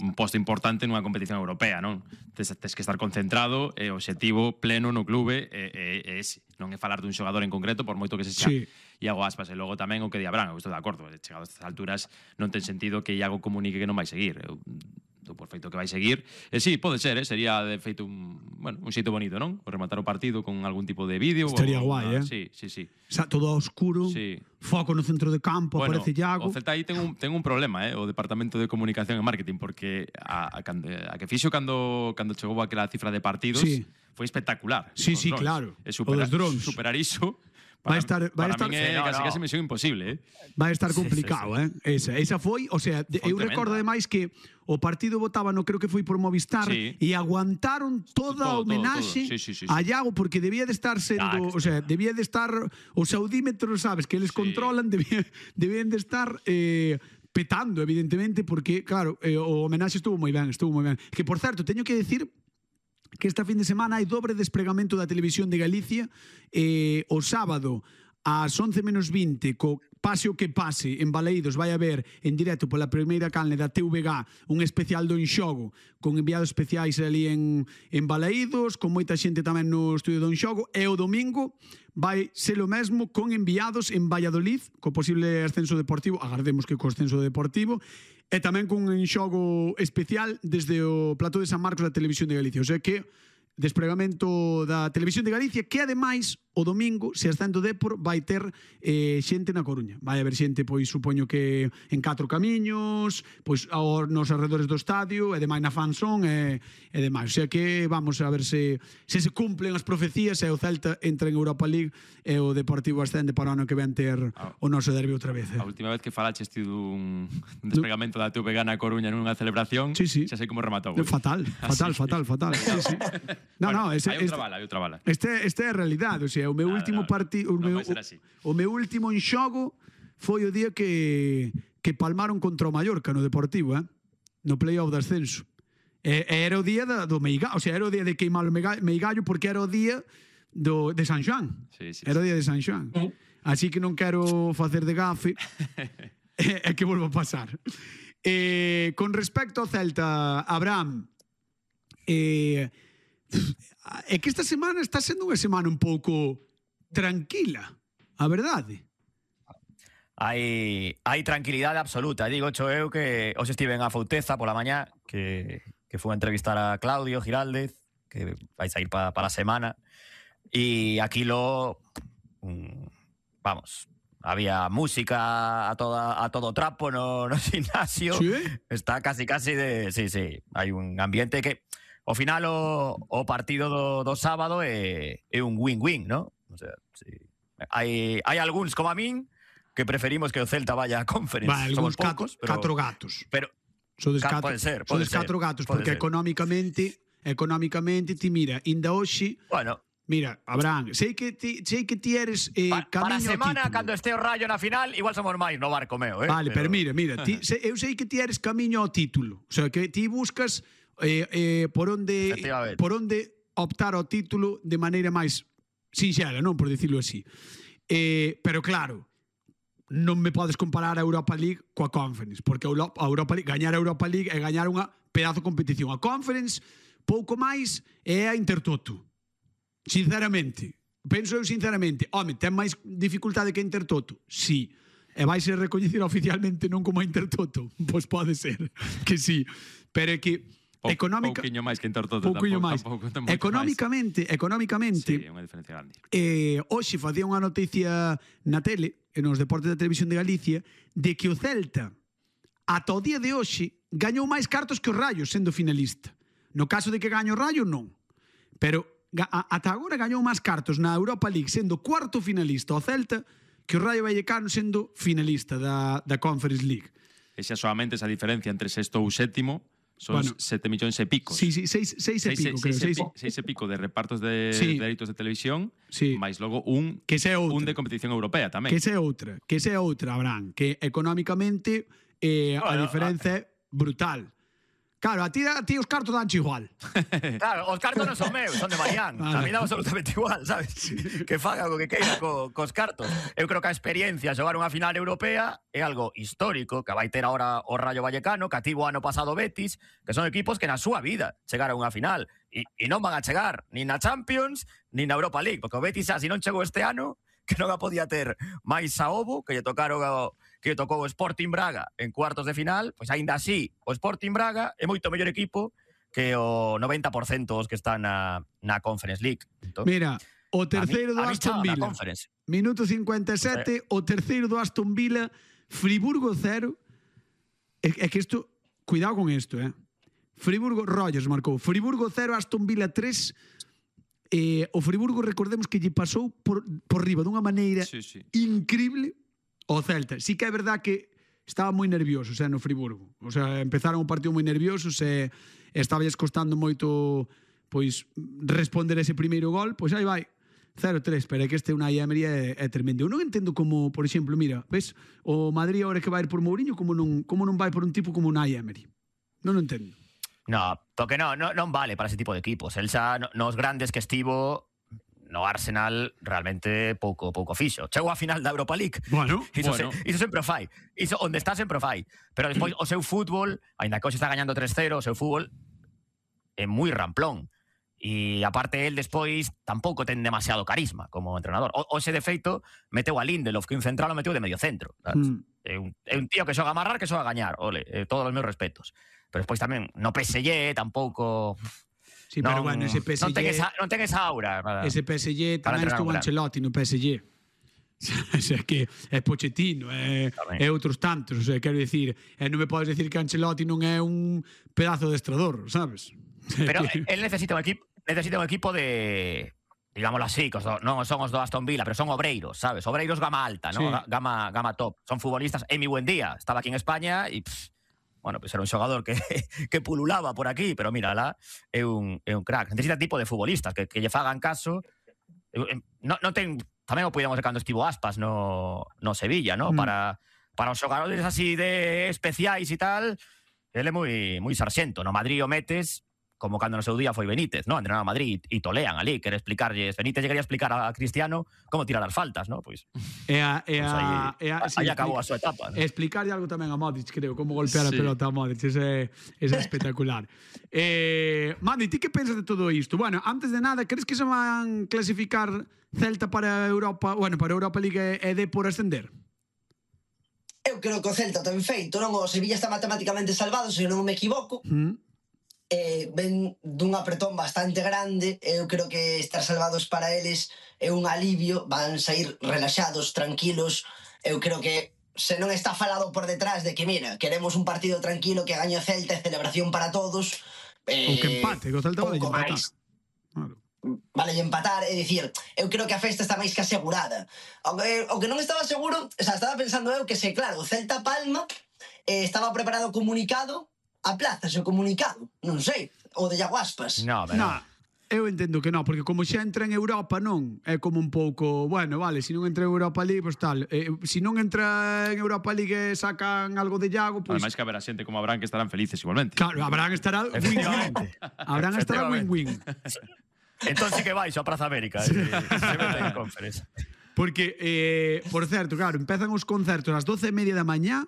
un posto importante nunha competición europea, non? Tes que estar concentrado e o obxectivo pleno no clube é ese. Non é falar dun xogador en concreto, por moito que se xa Iago Aspas. E logo tamén o que di Abraham, eu estou de acordo, chegado a estas alturas non ten sentido que Iago comunique que non vai seguir. Eu do por feito que vai seguir. E sí, pode ser, sería de feito un xeito bonito, non? O rematar o partido con algún tipo de vídeo. Estaría guai, Sí, sí, sí. Todo oscuro, foco no centro de campo, aparece Iago. O Celta aí ten un problema, o departamento de comunicación e marketing, porque a que fixo cando chegou aquela cifra de partidos foi espectacular. Sí, claro. E superar iso vai estar min é casi misión imposible, Vai estar complicado, Esa foi, o sea, eu recordo ademais que o partido votaba, creo que foi por Movistar, e aguantaron toda a homenaxe a Iago, porque debía de estar sendo, o sea, debía de estar os audímetros, sabes, que eles controlan, debían de estar petando, evidentemente, porque, claro, o homenaxe estuvo moi ben. Que, por certo, teño que decir que esta fin de semana hai dobre despregamento da Televisión de Galicia. O sábado ás 11:20, co pase o que pase en Balaídos, vai haber en directo pola primeira canle da TVG un especial do Enxogo con enviados especiais ali en Balaídos, con moita xente tamén no estudio do Enxogo. E o domingo vai ser o mesmo con enviados en Valladolid, co posible ascenso deportivo, agardemos que co ascenso deportivo, e tamén con un Enxogo especial desde o plató de San Marcos da Televisión de Galicia. O sea que despregamento da Televisión de Galicia, que ademais o domingo, se ascendo Depor, vai ter xente na Coruña. Vai haber xente, pois, supoño que en 4 camiños, pois, nos arredores do estadio, e demais na Fanzón, e demais. O sea que vamos a ver se cumplen as profecías, e o Celta entra en Europa League, e o Deportivo ascende para o ano que ven ter o noso derbi outra vez. A última vez que falaches ti dun despregamento da TVG na Coruña nunha celebración, xa sei como rematou. Fatal. No, hai outra bala. Este é a realidade, o sea, o meu último partido, o meu último enxogo foi o día que palmaron contra o Mallorca no Deportivo, no play-off de ascenso. Era o día do Meigallo, o sea, era o día de queimar o Meigallo, porque era o día de San Xoán. Era o día de San Xoán. Así que non quero facer de gafe e que volva a pasar. Con respecto ao Celta, Abraham, é que esta semana está sendo unha semana un pouco tranquila, a verdade. Hai tranquilidade absoluta. Digo eu que hoxe estive en a Fouteza pola mañá, que fui a entrevistar a Claudio Giraldez, que vai sair para a semana, e aquilo, vamos, había música a todo trapo no gimnasio. Está casi de... Sí, hai un ambiente que ao final o partido do sábado é un win-win, ¿no? O sea, hai algúns como a min que preferimos que o Celta vaya a Conference. Somos poucos, pero 4 gatos. Pero pode ser. Sodes 4 gatos, porque económicamente ti mira, inda hoxe. Bueno, mira, Abraham, sei que ti eres camiño para a semana, título. cando este o Rayo na final, igual somos máis no barco meu, Vale, pero mira, eu sei que ti eres camiño ao título. O sea, que ti buscas por onde optar ao título de maneira máis sinxela, non? Por dicirlo así. Pero claro, non me podes comparar a Europa League coa Conference, porque a Europa League, gañar a Europa League é gañar unha pedazo de competición. A Conference, pouco máis, é a Intertoto. Sinceramente. Penso eu sinceramente. Home, ten máis dificultade que a Intertoto? Sí. E vai ser recoñecida oficialmente non como a Intertoto? Pois pode ser que sí. Pero é que pouquiño máis que Intertoto, económicamente sí, é unha diferencia grande. Hoxe facía unha noticia na tele, nos deportes da Televisión de Galicia, de que o Celta ata o día de hoxe gañou máis cartos que o Rayo sendo finalista. No caso de que gaño o Rayo, non, pero ata agora gañou máis cartos na Europa League sendo cuarto finalista o Celta que o Rayo Vallecano sendo finalista da Conference League. E xa solamente esa diferencia entre sexto ou sétimo son 7 millóns e pico. Sí, 6 e pico, creo. 6 e pico de repartos de dereitos de televisión, máis logo un de competición europea tamén. Que esa é outra, Abraham, que económicamente a diferenza é brutal. Claro, a ti os cartos danche igual. Claro, os cartos non son meus, son de Marián. A mí dá absolutamente igual, sabes? Que faga o que queira cos cartos. Eu creo que a experiencia de xogar unha final europea é algo histórico, que vai ter agora o Rayo Vallecano, que ativo ano pasado Betis, que son equipos que na súa vida chegaron a unha final. E non van a chegar nin na Champions, nin na Europa League, porque o Betis, se non chegou este ano, que non a podía ter máis a Ovo, que lle tocou o Sporting Braga en cuartos de final, pois aínda así, o Sporting Braga é moito mellor equipo que o 90% os que están na Conference League. Entón, mira, o terceiro do Aston Villa, minuto 57, o terceiro do Aston Villa, Friburgo 0. É que isto, cuidado con isto, Friburgo, Rogers marcou, Friburgo 0, Aston Villa 3. O Friburgo, recordemos que lle pasou por riba dunha maneira increíble ao Celta. Sí que é verdad que estaba moi nerviosos no Friburgo. O sea, empezaron o partido moi nerviosos e estáballes costando moito pois responder ese primeiro gol. Pois aí vai, 0-3, pero é que este Unai Emery é tremendo. Eu non entendo como, por exemplo, mira, ves, o Madrid agora que vai ir por Mourinho, como non vai por un tipo como Unai Emery. Non o entendo. No, porque non vale para ese tipo de equipos. El xa nos grandes que estivo no Arsenal realmente pouco fixo. Chegou a final da Europa League. Bueno. Iso sempre o fai. Iso onde está sempre o fai. Pero despois o seu fútbol, aínda que hoxe está gañando 3-0, o seu fútbol é moi ramplón. E aparte el despois tampouco ten demasiado carisma como entrenador. Hoxe de feito meteu a Lindelof, que un central o meteu de medio centro. É un tío que xoga a amarrar, que xoga a gañar. Ole, todos os meus respetos. Pero despois tamén no PSG tampouco... Sí, pero bueno, ese PSG... Non ten esa aura. Ese PSG tamén estuvo Ancelotti no PSG. O sea, que é Pochettino, é outros tantos. O sea, quero dicir, non me podes decir que Ancelotti non é un pedazo de estrador, sabes? Pero él necesita un equipo de... digámoslo así, non son os do Aston Villa, pero son obreiros, sabes? Obreiros gama alta, ¿no? Gama top. Son futbolistas. Emi Buendía estaba aquí en España e... bueno, pues era un xogador que pululaba por aquí, pero mira, lá é un crack. Necesita tipo de futbolistas que lle fagan caso. Non ten, tamén o podíamos ver cando estivo Aspas no Sevilla, ¿no? Para os xogadores así de especiais e tal, ele é moi sarxento. No Madrid o metes como cando no seu día foi Benítez, ¿no? Entrenar a Madrid e tolean ali, quere explicarlles, Benítez llegaría a explicar a Cristiano como tirar as faltas, ¿no? Pois aí acabou a súa etapa, ¿no? Explicarlle algo tamén a Modric, creo, como golpear a pelota a Modric, ese é espectacular. Mandi, ti que pensas de todo isto? Bueno, antes de nada, crees que se van clasificar Celta para Europa, bueno, para Europa League e de por ascender? Eu creo que o Celta ten feito, non? O Sevilla está matemáticamente salvado, se non me equivoco. Ven dun apretón bastante grande. Eu creo que estar salvados para eles é un alivio, van sair relaxados, tranquilos. Eu creo que se non está falado por detrás de que, mira, queremos un partido tranquilo, que gañe o Celta e celebración para todos, ou que empate, que o Celta vai empatar. Vale empatar, é dicir, eu creo que a festa está máis que asegurada. O que non estaba seguro, o sea, estaba pensando eu que se, claro, o Celta Palma estaba preparado o comunicado, a plaza, o comunicado, non sei, o de Iago Aspas. No, eu entendo que non, porque como xa entra en Europa, non, é como un pouco, bueno, vale, se non entra en Europa League, pois tal, se non entra en Europa League e sacan algo de Iago, pois... Ademais que haberá xente como Abraham que estarán felices igualmente. Claro, Abraham estará win-win. Abraham estará win-win. Entón sí que vais a Praza América. Porque, por certo, claro, empezan os concertos ás 12:30 da mañá.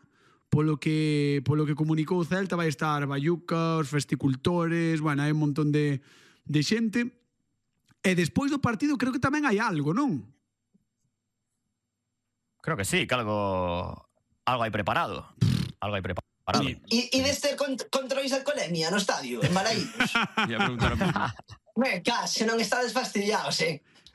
Polo que comunicou o Celta, vai estar Bayuca, os festicultores, bueno, hai un montón de xente. E despois do partido creo que tamén hai algo, non? Creo que sí, que algo hai preparado. Algo hai preparado. E deste controis de alcoholemia no estadio, en Balaídos? Ia preguntar se non estades fastidiados,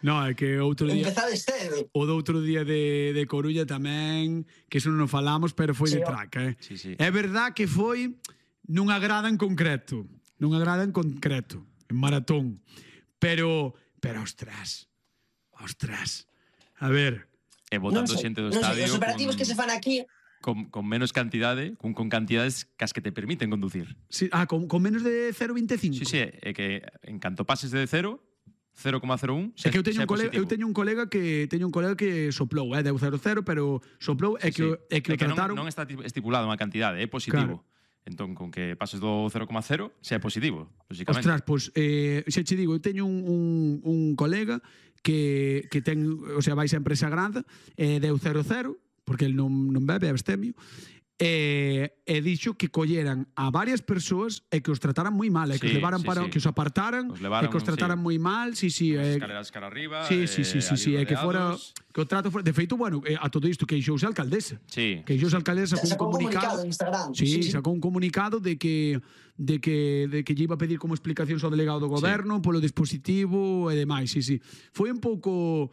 No, é que outro día... Empezades cedo. O do outro día de Coruña tamén, que eso non falamos, pero foi de traca, Sí. É verdad que foi nunha grada en concreto. En maratón. Pero ostras. A ver... E botando xente do estadio... Os operativos que se fan aquí... Con menos cantidade, con cantidades que as que te permiten conducir. Sí, con menos de 0,25. Sí, é que en canto pases de 0... 0,01. É que eu teño un colega que soplou, deu 0,0, pero soplou é que o trataron. Non está estipulado unha cantidade, é positivo. Entón, con que pases do 0,0, xa é positivo, lógicamente. Ostras, pois, xa che digo, eu teño un colega que ten, o sea, vai sempre esa grada, deu 0,0, porque el non bebe, é abstemio, e dixo que colleran a varias persoas e que os trataran moi mal, que os levaran para que os apartaran, e que os trataran moi mal, escaleras cara arriba, e que fora que o trato fora, de feito, bueno, a todo isto queixouse a alcaldesa. Queixouse a alcaldesa sacou un comunicado en Instagram. Sacou un comunicado de que lle iba a pedir como explicacións ao delegado do goberno polo dispositivo e demais, Foi un pouco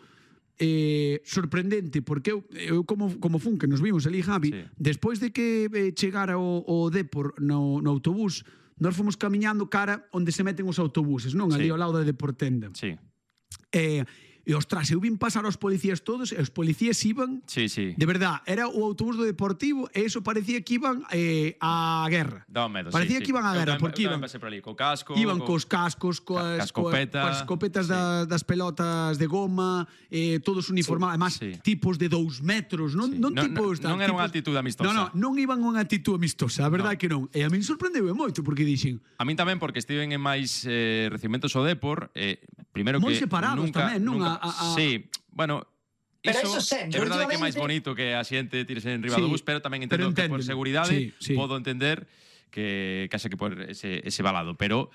sorprendente, porque eu como fun, que nos vimos ali, Javi, despois de que chegara o Depor no autobús, nós fomos camiñando cara onde se meten os autobuses, non? Ali ao lado da Deportenda. E, ostras, eu vin pasar aos policías todos, e os policías iban, de verdad, era o autobús do Deportivo, e eso parecía que iban á guerra. Parecía que iban á guerra, porque iban cos cascos, coas escopetas das pelotas de goma, todos uniformados, además, tipos de 2 metros, non tipos... Non era unha actitude amistosa. Non iban unha actitude amistosa, a verdade que non. E a min sorprendeu moito, porque dixen... A min tamén, porque estiven en máis recibimentos ao Depor, primeiro que... Moi separados tamén, non? Sí, bueno, pero eso sempre, é verdade que é máis bonito que a xente tirese en riba do bus, pero tamén entendo que por seguridade podo entender que haxa que por ese balado, pero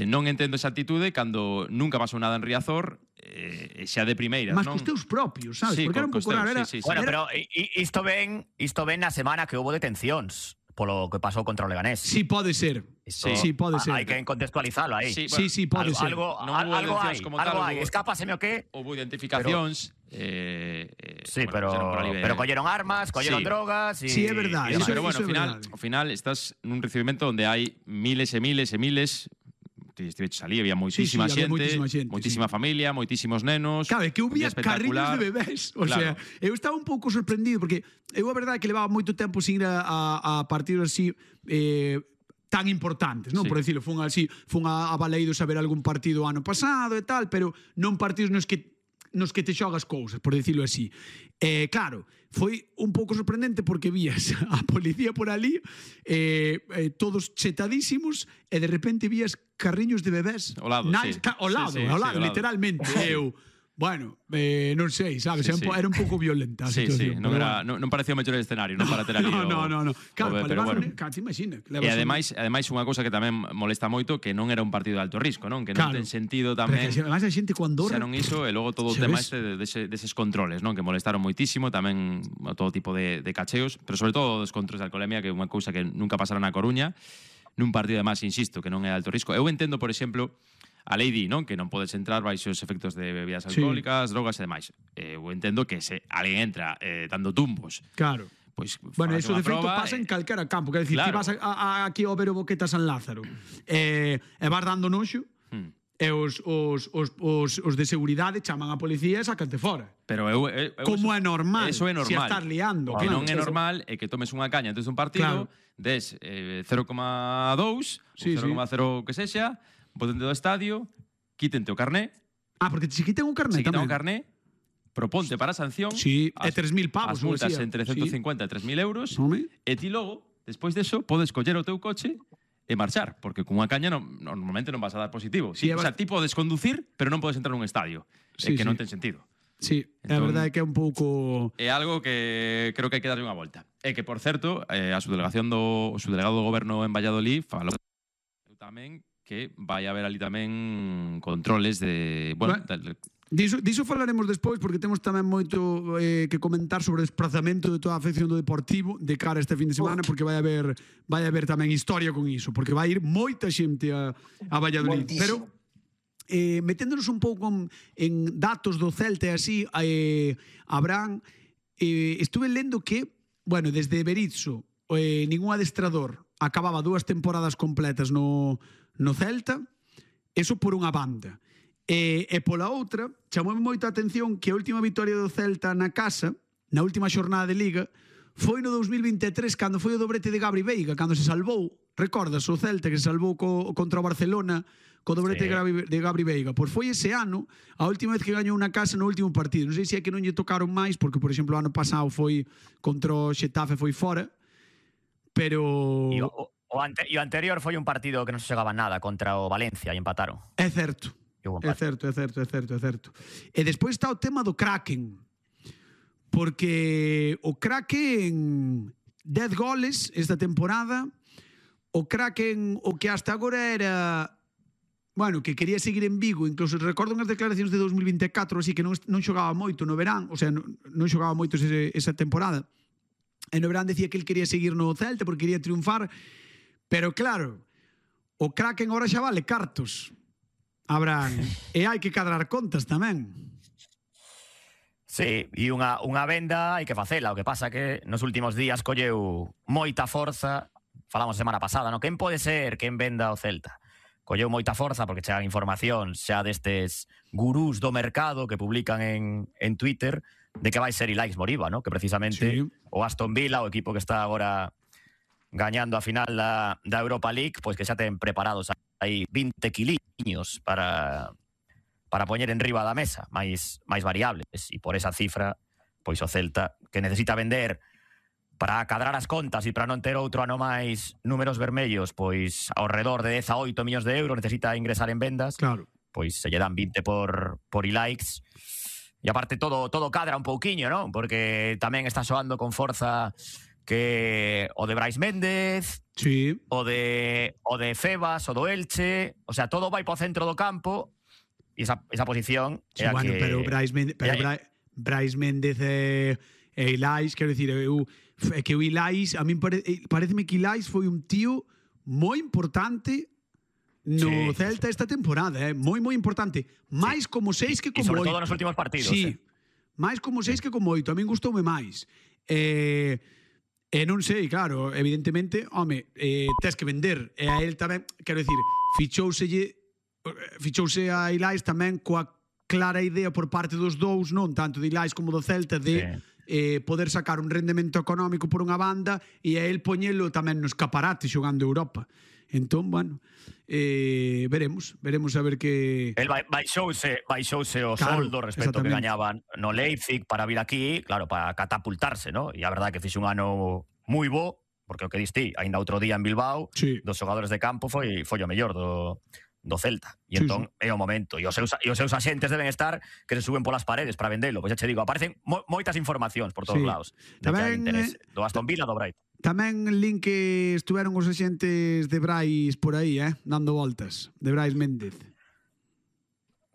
non entendo esa actitude cando nunca pasou nada en Riazor, xa de primeiras, mas non? cos teus propios, sabes? Porque era un pouco raro. Bueno, pero isto ven na semana que houve detencións polo que pasou contra o Leganés. Sí, pode ser. Sí, pode ser. Hai que contextualizalo aí. Sí, pode ser. Algo hai. Escápaseme o qué. Houve identificacións. Sí, pero colleron armas, colleron drogas. Sí, é verdade. Pero bueno, ao final estás nun recibimento onde hai miles e miles e miles. Estive salí, había moitísima xente, moitísima familia, moitísimos nenos. Claro, que hubo carriños de bebés. O sea, eu estaba un pouco sorprendido, porque eu a verdade que levaba moito tempo sin ir a partidos así tan importantes, non? Por decirlo, fun a Baleidos a ver algún partido ano pasado e tal, pero non partidos nos que te xogas cousas, por decirlo así. Claro, foi un pouco sorprendente porque vías a policía por ali, todos chetadísimos, e de repente vías carriños de bebés. Ao lado, literalmente. Bueno, non sei, sabes? Era un pouco violenta a situación. Non parecía o mellor escenario, non para ter ali No. Claro, para levar imagina. E ademais unha cousa que tamén molesta moito, que non era un partido de alto risco, non? Que non ten sentido tamén... Ademais a xente cuando xa non iso, e logo todo o tema deses controles, non? Que molestaron moitísimo, tamén todo tipo de cacheos, pero sobre todo dos controles de alcoholemia, que é unha cousa que nunca pasara na Coruña, nun partido además, insisto, que non é de alto risco. Eu entendo, por exemplo, a lei di, non? Que non podes entrar baixo os efectos de bebidas alcohólicas, drogas e demais. Eu entendo que se alguén entra dando tumbos, claro, pois, bueno, eso de feito pasa en calquera campo, quer dicir, ti vas aquí ao ver o Boqueta San Lázaro e vas dando noxo, e os de seguridade chaman a policía e sacante fora. Pero como é normal? Eso é normal. Se estás liando. O que non é normal é que tomes unha caña antes dun partido, des 0,2 ou 0,0 que sexa, botente do estadio, quítente o carné. Porque se quiten o carné tamén. Se quiten o carné, proponte para a sanción. Sí, e 3.000 pavos. As multas entre 150 e 3.000 euros. E ti logo, despois deso, podes coller o teu coche e marchar, porque con unha caña normalmente non vas a dar positivo. O sea, ti podes conducir, pero non podes entrar nun estadio. É que non ten sentido. Sí, a verdade é que é un pouco... É algo que creo que hai que darlle unha volta. E que, por certo, o subdelegado do goberno en Valladolid falou tamén que vai haber ali tamén controles de... Bueno, diso falaremos despois, porque temos tamén moito que comentar sobre o desplazamento de toda a afección do Deportivo de cara a este fin de semana, porque vai haber tamén historia con iso, porque vai ir moita xente a Valladolid. Pero meténdonos un pouco en datos do Celta e así, Abraham, estuve lendo que, bueno, desde Berizzo, ningún adestrador acababa 2 temporadas completas no Celta, eso por unha banda. E pola outra, chamoume moita atención que a última vitoria do Celta na casa, na última xornada de Liga, foi no 2023, cando foi o dobrete de Gabri Veiga, cando se salvou, recordas, o Celta que se salvou contra o Barcelona, co dobrete de Gabri Veiga. Pois foi ese ano, a última vez que gañou na casa no último partido. Non sei se é que non lle tocaron máis, porque, por exemplo, o ano pasado foi contra o Xetafe, foi fora, pero... E o anterior foi un partido que non se xogaba nada contra o Valencia e empataron. É certo. É certo. E despois está o tema do Kraken. Porque o Kraken 10 goles esta temporada. O Kraken, o que hasta agora era... Bueno, que quería seguir en Vigo, incluso recordo unhas declaracións de 2024, así que non xogaba moito no verán, o sea, non xogaba moito esa temporada. E no verán decía que el quería seguir no Celta porque quería triunfar, pero claro, o Kraken agora xa vale cartos, Abraham, e hai que cadrar contas tamén. Sí, e unha venda hai que facela, o que pasa que nos últimos días colleu moita forza, falamos semana pasada, no? Quen pode ser quen venda o Celta? Colleu moita forza porque chegan información xa destes gurús do mercado que publican en Twitter de que vai ser Ilaix Moriba, ¿no? Que precisamente o Aston Villa, o equipo que está agora gañando a final da Europa League, pois que xa ten preparados aí 20 quiliños para poñer en riba da mesa, máis variables, e por esa cifra, pois o Celta, que necesita vender para cadrar as contas e para non ter outro ano máis números vermellos, pois ao redor de 10 a 8 millóns de euros necesita ingresar en vendas, claro. Pois se lle dan 20 por Ilaix. E aparte todo cadra un pouquiño, non? Porque tamén está soando con forza que o de Brais Méndez, sí, o de Febas, o do Elche, o sea, todo vai para o centro do campo e esa posición sí, bueno, que... Pero Brais Méndez e Ilaix, quero dicir, é que o Ilaix, a mí pareceme que Ilaix foi un tío moi importante no Celta esta temporada, moi importante, máis como 6 que como 8. E sobre todo nos últimos partidos. Sí, máis como 6 que como 8, a min gustoume máis. E non sei, claro, evidentemente, home, tes que vender, e a él tamén, quero dicir, fichouse a Ilaix tamén coa clara idea por parte dos dous, non tanto de Ilaix como do Celta, de poder sacar un rendemento económico por unha banda e a él poñelo tamén no escaparate xogando Europa. Entón, bueno, veremos a ver que... El baixouse o soldo respecto ao que gañaban no Leipzig para vir aquí, claro, para catapultarse, ¿no? E a verdade que fixe un ano moi bo, porque o que diste, ainda outro día en Bilbao, dos xogadores de campo foi o mellor do Celta. E entón é o momento. E os seus axentes deben estar que se suben polas paredes para vendelo. Pois xa che digo, aparecen moitas informacións por todos lados de que hai interés. Do Aston Villa, do Brighton. Tamén lin que estuveron os axentes de Brais por aí, dando voltas, de Brais Méndez.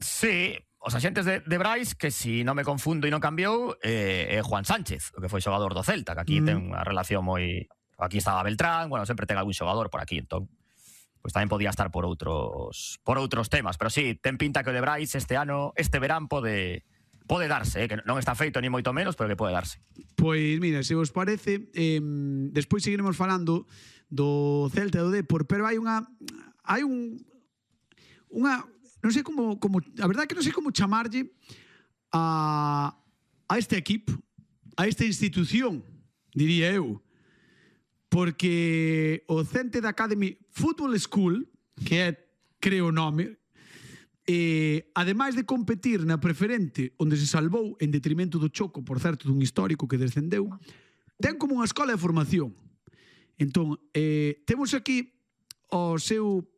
Sí, os axentes de Brais, que si non me confundo e non cambiou, é Juan Sánchez, o que foi xogador do Celta, que aquí ten unha relación moi... Aquí estaba Beltrán, bueno, sempre ten algún xogador por aquí, entón pois tamén podía estar por outros temas, pero sí, ten pinta que o de Brais este verán pode darse, que non está feito ni moito menos, pero que pode darse. Pois mira, se vos parece, despois seguiremos falando do Celta e do Depor, pero hai unha non sei como a verdade que non sei como chamarlle a este equipo, a esta institución, diría eu, porque o Celta Academy Football School, que é, creo o nome, ademais de competir na preferente onde se salvou en detrimento do Choco, por certo, dun histórico que descendeu, ten como unha escola de formación. Entón, temos aquí o seu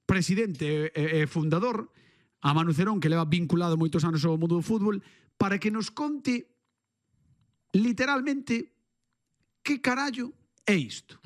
presidente e fundador, a Manu Cerón, que leva vinculado moitos anos ao mundo do fútbol, para que nos conte literalmente que carallo é isto.